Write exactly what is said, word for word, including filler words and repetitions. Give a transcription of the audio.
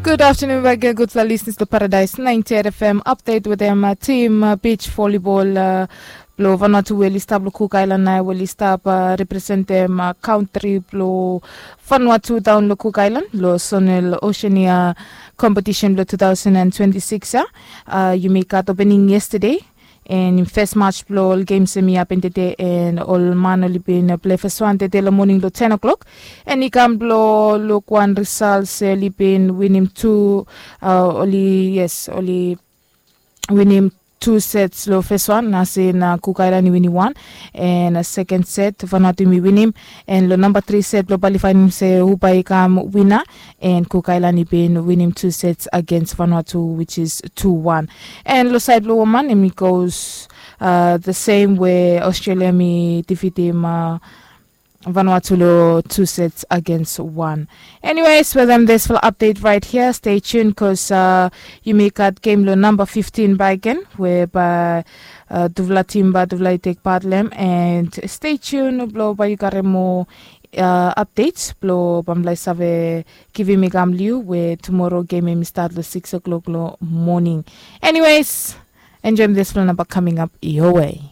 Good afternoon back again, gudfala listeners to Paradise ninety-eight F M update with them uh, team uh, beach volleyball uh, blo Vanuatu we oli stap lo Cook Island na we oli stap uh, represent them uh, country blo Vanuatu down lo Cook Island lo Zonal Oceania competition blo two thousand and twenty-six ya. Uh, yumi gat opening yesterday. En fes match blo ol games em i hapen tede en ol man oli bin plei fes wan tede lo moning lo ten o'clock. En i kam blo luk wan result se oli bin winim tu uh, oli yes oli winim tu sets lo fes wan na se na Cook Island i winim wan. En uh, second set Vanuatu yumi winim. En lo namba tri set blo bali fainem se hu bai i kam wina. En Cook Island i bin winim tu sets against Vanuatu which is two one. En lo saed blo woman em i goes uh, the same we Australia mi defeatim uh, Vanuatu lo two sets against one. Anyways, with them this full update right here. Stay tuned because uh, you may got game lo number fifteen by again whereby uh, duvla timba duvla i take part lem and stay tuned blo ba you got more uh, updates blo bamlai save giving me gam liu where tomorrow game em i start lo six o'clock lo morning. Anyways, enjoy this full number coming up your way.